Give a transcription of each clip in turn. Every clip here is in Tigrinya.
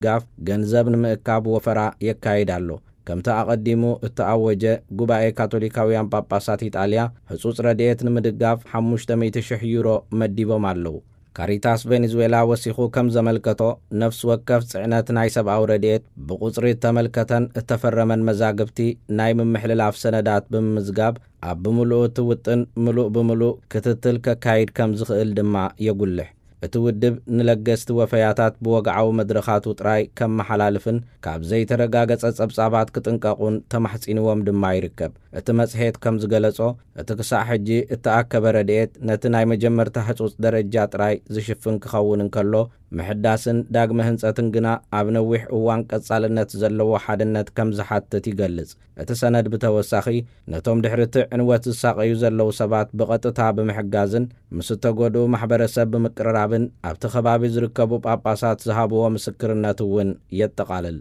ንምድጋፍ ገንዘብ ንምእካብ ወፈራ የካይድ ኣሎ። ከምቲ ኣቐዲሙ እተኣወጀ፣ ጉባኤ ካቶሊካውያን ጳጳሳት ኢጣልያ ህጹጽ ረድኤት ንምድጋፍ ሓሙሽተ ሚእቲ ሽሕ ዩሮ መዲቦም ኣለዉ። ካሪታስ ቬኔዙዌላ ወሲኹ ከም ዘመልከቶ፣ ነፍሲ ወከፍ ጽዕነት ናይ ሰብኣዊ ረድኤት ብቑጽሪ እተመልከተን እተፈረመን መዛግብቲ ናይ ምምሕልላፍ ሰነዳት ብምምዝጋብ፣ ኣብ ብምሉኡ እቲ ውጥን ምሉእ ብምሉእ ክትትል ከካይድ ከም ዝኽእል ድማ የጉልሕ። እቲ ውድብ ንለገስቲ ወፈያታት ብወግዓዊ መድረኻቱ ጥራይ ከመሓላልፍን ካብ ዘይተረጋገጸ ጸብጻባት ክጥንቀቑን ተማሕጺንዎም ድማ ይርከብ። እቲ መጽሔት ከም ዝገለጾ፣ እቲ ክሳዕ ሕጂ እተኣከበ ረድኤት ነቲ ናይ መጀመርታ ህጹጽ ደረጃ ጥራይ ዝሽፍን ክኸውን እንከሎ፣ ምሕዳስን ዳግመ ህንጸትን ግና ኣብ ነዊሕ እዋን ቀጻልነት ዘለዎ ሓድነት ከም ዝሓትት ይገልጽ። እቲ ሰነድ ብተወሳኺ፣ ነቶም ድሕሪ እቲ ዕንወት ዝሳቐዩ ዘለዉ ሰባት ብቐጥታ ብምሕጋዝን ምስ እተጎድኡ ማሕበረሰብ ብምቅርራብን ኣብቲ ከባቢ ዝርከቡ ጳጳሳት ዝሃብዎ ምስክርነት እውን የጠቓልል።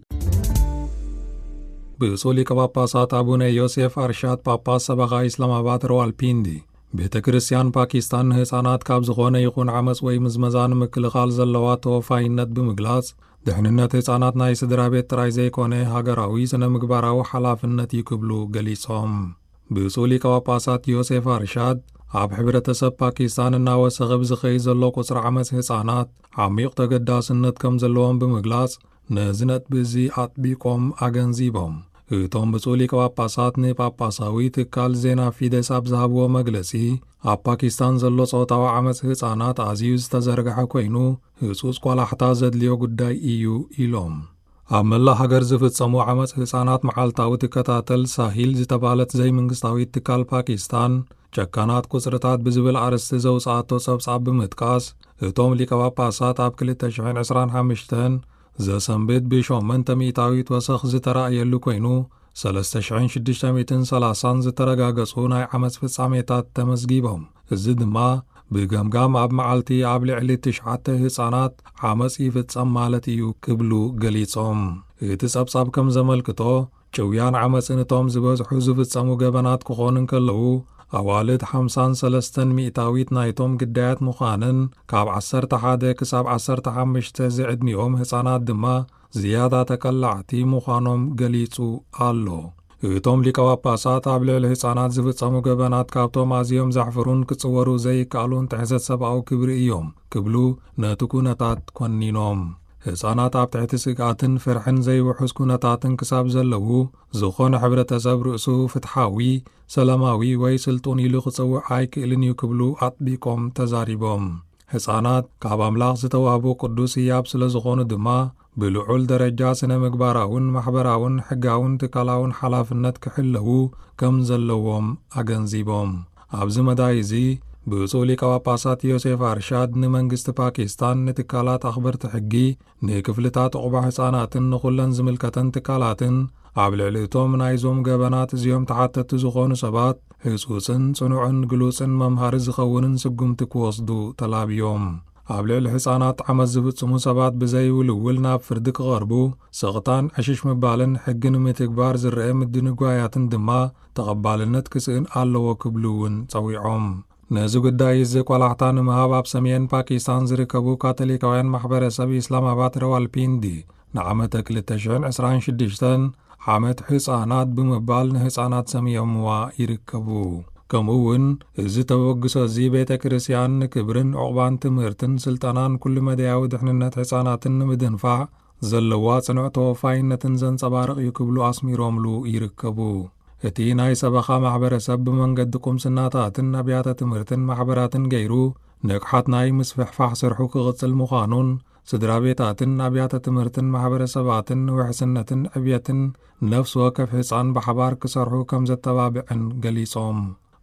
ብፁዕ ሊቀ ጳጳሳት ኣቡነ ዮሴፍ ኣርሻድ፣ ጳጳስ ሰበኻ ኢስላማባድ ራዋልፒንዲ፣ ቤተ ክርስቲያን ፓኪስታን ንህፃናት ካብ ዝኾነ ይኹን ዓመፅ ወይ ምዝመዛ ንምክልኻል ዘለዋ ተወፋይነት ብምግላጽ፣ ድሕንነት ህፃናት ናይ ስድራ ቤት ጥራይ ዘይኮነ ሃገራዊ ስነ ምግባራዊ ሓላፍነት እዩ ክብሉ ገሊጾም። ብፁዕ ሊቀ ጳጳሳት ዮሴፍ ኣርሻድ፣ ኣብ ሕብረተሰብ ፓኪስታን እናወሰኸ ብዝኸይድ ዘሎ ቁጽሪ ዓመፅ ህፃናት ዓሚቕ ተገዳስነት ከም ዘለዎም ብምግላጽ፣ ነዚ ነጥቢ እዚ ኣጥቢቆም ኣገንዚቦም። እቶም ብፁዕ ሊቀ ጳጳሳት ንጳጳሳዊ ትካል ዜና ፊደስ ኣብ ዝሃብዎ መግለጺ፣ ኣብ ፓኪስታን ዘሎ ጾታዊ ዓመጽ ህጻናት ኣዝዩ ዝተዘርግሐ ኮይኑ፣ ህጹጽ ቆላሕታ ዘድልዮ ጉዳይ እዩ ኢሎም። ኣብ መላእ ሃገር ዝፍጸሙ ዓመጽ ህጻናት መዓልታዊ ትከታተል ሳሂል ዝተባህለት ዘይመንግስታዊት ትካል ፓኪስታን፣ ጨካናት ቁጽርታት ብዝብል ኣርእስቲ ዘውጽኣቶ ጸብጻብ ብምጥቃስ፣ እቶም ሊቀ ጳጳሳት ኣብ ክልተ ሽሕን ዕስራን ሓሙሽተን ዘሰንብድ ብሸሞንተ ሚእታዊት ወሰኽ ዝተራእየሉ ኮይኑ፣ ሰለስተ ሽሕን ሽዱሽተ ሚእትን ሰላሳን ዝተረጋገጹ ናይ ዓመጽ ፍጻሜታት ተመዝጊቦም። እዚ ድማ ብገምጋም ኣብ መዓልቲ ኣብ ልዕሊ ትሽዓተ ህጻናት ዓመጽ ይፍጸም ማለት እዩ ክብሉ ገሊጾም። እቲ ጸብጻብ ከም ዘመልክቶ፣ ጭውያን ዓመጽን እቶም ዝበዝሑ ዝፍጸሙ ገበናት ክኾኑ እንከለዉ፣ ኣዋልድ ሓምሳን ሰለስተን ሚእታዊት ናይቶም ግዳያት ምዃንን፣ ካብ ዓሰርተ ሓደ ክሳብ ዓሰርተ ሓሙሽተ ዝዕድሚኦም ህጻናት ድማ ዝያዳ ተቀላዕቲ ምዃኖም ገሊጹ ኣሎ። እቶም ሊቀ ጳጳሳት ኣብ ልዕሊ ህጻናት ዝፍጸሙ ገበናት ካብቶም ኣዝዮም ዘሕፍሩን ክጽወሩ ዘይከኣሉን ጥሕሰት ሰብኣዊ ክብሪ እዮም ክብሉ ነቲ ኩነታት ኮኒኖም። ህጻናት ኣብ ትሕቲ ስግኣትን ፍርሕን ዘይውሑስ ኩነታትን ክሳብ ዘለዉ፣ ዝኾነ ሕብረተሰብ ርእሱ ፍትሓዊ፣ ሰላማዊ ወይ ስልጡን ኢሉ ክጽውዕ ኣይክእልን እዩ ክብሉ ኣጥቢቆም ተዛሪቦም። ህጻናት ካብ ኣምላኽ ዝተዋህቡ ቅዱስ ህያብ ስለ ዝኾኑ ድማ፣ ብልዑል ደረጃ ስነ ምግባራውን ማሕበራውን ሕጋውን ትካላውን ሓላፍነት ክሕለዉ ከም ዘለዎም ኣገንዚቦም። ኣብዚ መዳይ እዚ፣ ብፁዕ ሊቀ ጳጳሳት ዮሴፍ ኣርሻድ ንመንግስቲ ፓኪስታን፣ ንትካላት ኣኽበርቲ ሕጊ፣ ንክፍልታት ዑቕባ ህጻናትን ንኹለን ዝምልከተን ትካላትን፣ ኣብ ልዕሊ እቶም ናይዞም ገበናት እዚኦም ተሓተቲ ዝኾኑ ሰባት ህጹጽን ጽኑዕን ግሉጽን መምሃሪ ዝኸውንን ስጉምቲ ክወስዱ ተላብዮም። ኣብ ልዕሊ ህጻናት ዓመጽ ዝፍጽሙ ሰባት ብዘይውልውል ናብ ፍርዲ ክቐርቡ፣ ስቕታን ዕሽሽ ምባልን ሕጊ ንምትግባር ዝረአ ምድንጓያትን ድማ ተቐባልነት ክስእን ኣለዎ ክብሉ እውን ጸዊዖም። ነዚ ጉዳይ እዚ ቆላሕታ ንምሃብ ኣብ ሰሜን ፓኪስታን ዝርከቡ ካቶሊካውያን ማሕበረሰብ ኢስላማባድ ራዋልፒንዲ ንዓመተ ክልተ ሽሕን ዕስራን ሽዱሽተን ዓመት ህጻናት ብምባል ንህጻናት ሰምዮምዋ ይርከቡ። ከምኡ እውን እዚ ተበግሶ እዚ ቤተ ክርስቲያን ንክብርን ዕቑባን ትምህርትን ስልጠናን ኩሉ መደያዊ ድሕንነት ህጻናትን ንምድንፋዕ ዘለዋ ጽኑዕ ተወፋይነትን ዘንጸባርቕ እዩ ክብሉ ኣስሚሮምሉ ይርከቡ። እቲ ናይ ሰበኻ ማሕበረሰብ ብመንገዲ ቁምስናታትን ኣብያተ ትምህርትን ማሕበራትን ገይሩ ንቕሓት ናይ ምስፍሕፋሕ ስርሑ ክቕጽል ምዃኑን ስድራ ቤታትን ኣብያተ ትምህርትን ማሕበረሰባትን ንውሕስነትን ዕብየትን ነፍሲ ወከፍ ህጻን ብሓባር ክሰርሑ ከም ዘተባብዕን ገሊጾም።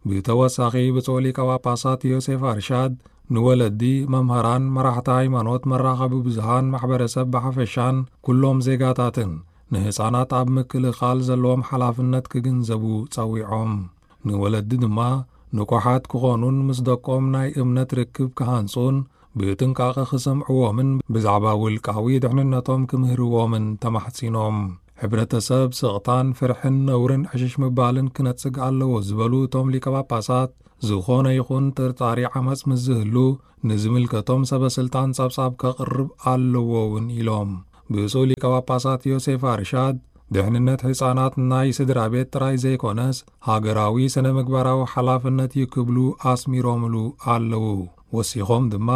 ብተወሳኺ ብፁዕ ሊቀ ጳጳሳት ዮሴፍ ኣርሻድ ንወለዲ፣ መምህራን፣ መራሕቲ ሃይማኖት፣ መራኸቢ ብዙሃን፣ ማሕበረሰብ ብሓፈሻን ኩሎም ዜጋታትን ንህጻናት ኣብ ምክልኻል ዘለዎም ሓላፍነት ክግንዘቡ ጸዊዖም። ንወለዲ ድማ ንቑሓት ክኾኑን ምስ ደቆም ናይ እምነት ርክብ ክሃንጹን ብጥንቃቐ ክሰምዕዎምን ብዛዕባ ውልቃዊ ድሕንነቶም ክምህርዎምን ተማሕጺኖም። ሕብረተሰብ ስቕታን ፍርሕን ነውርን ዕሽሽ ምባልን ክነጽግ ኣለዎ ዝበሉ እቶም ሊቀ ጳጳሳት፣ ዝኾነ ይኹን ጥርጣሪ ዓመጽ ምስ ዝህሉ ንዝምልከቶም ሰበ ስልጣን ጸብጻብ ከቕርብ ኣለዎ እውን ኢሎም። ብፁዕ ሊቀ ጳጳሳት ዮሴፍ ኣርሻድ፣ ድሕንነት ህጻናት ናይ ስድራ ቤት ጥራይ ዘይኮነስ፣ ሃገራዊ ስነ ምግባራዊ ሓላፍነት እዩ ክብሉ ኣስሚሮምሉ ኣለዉ። ወሲኾም ድማ፣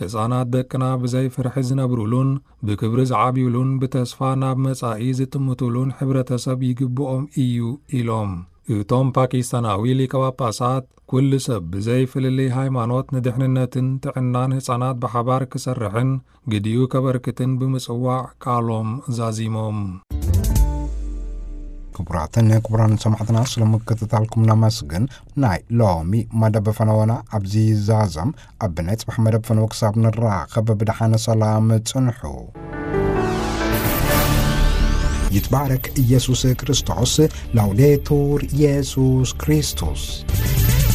ህጻናት ደቅና ብዘይ ፍርሒ ዝነብሩሉን ብክብሪ ዝዓብዩሉን ብተስፋ ናብ መጻኢ ዝጥምቱሉን ሕብረተሰብ ይግብኦም እዩ ኢሎም። እቶም ፓኪስታናዊ ሊቀ ጳጳሳት፣ ኩሉ ሰብ ብዘይ ፍልልይ ሃይማኖት ንድሕንነትን ጥዕናን ህጻናት ብሓባር ክሰርሕን ግዲኡ ከበርክትን ብምጽዋዕ ቃሎም ዛዚሞም። ክቡራትን ክቡራን ሰማዕትና፣ ስለ ምክትታልኩም ነመስግን። ናይ ሎሚ መደብ ፈነወና ኣብዚ ይዛዘም። ኣብ ናይ ጽባሕ መደብ ፈነወ ክሳብ ንራኸብ ብደሓነ ሰላም ጽንሑ። ይትባረክ ኢየሱስ ክርስቶስ። ላውዴቱር ኢየሱስ ክርስቶስ።